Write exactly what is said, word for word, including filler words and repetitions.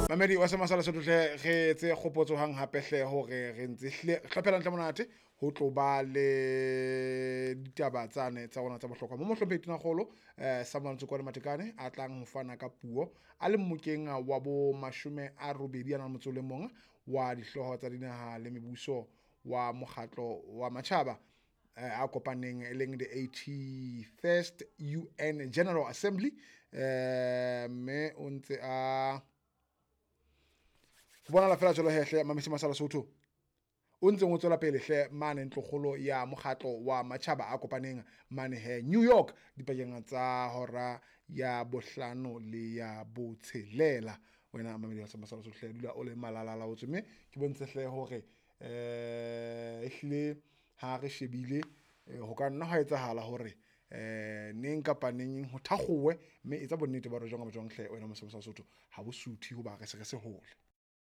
Mamedi wa Semasala Sotho hle, re etse kgopotso hang hape hle hore re ntse hlile re hlophela ntle monate ho tlo ba le ditaba tsane tsa rona tsa bohlokwa mo mohlomphehi Tonakgolo eh Samuel Ntsokoane Matekane a tlang ho fana ka puo a le mmokeng wa bo mashome a robedi a nang le motso o le mong wa dihlooho tsa dinaha le mebuso wa mokgatlo wa matjhaba eh, a kopaneng e leng the eighty-first U N General Assembly eh mme o ntse a ho bonahala fela jwalo hehle Mamesi Masala Sotho o ntseng o tswela pele hle mane ntlokgolo ya mokgatlo wa matjhaba a kopaneng mane he New York dipakeng tsa hora ya bohlano le ya botshelela. Wena Mamedi wa Masala Sotho hle dula o le malalala o tswe mme ke bontshe hle hore eh ehlile ha re shebile ho ka nna ha etsahala hore eh neng kapa neng ho thakgowe mme etsa bonnete ba hore jwang kapa jwang hle wena Mose Masala Sotho ha bo suthe hoba re se re se hole.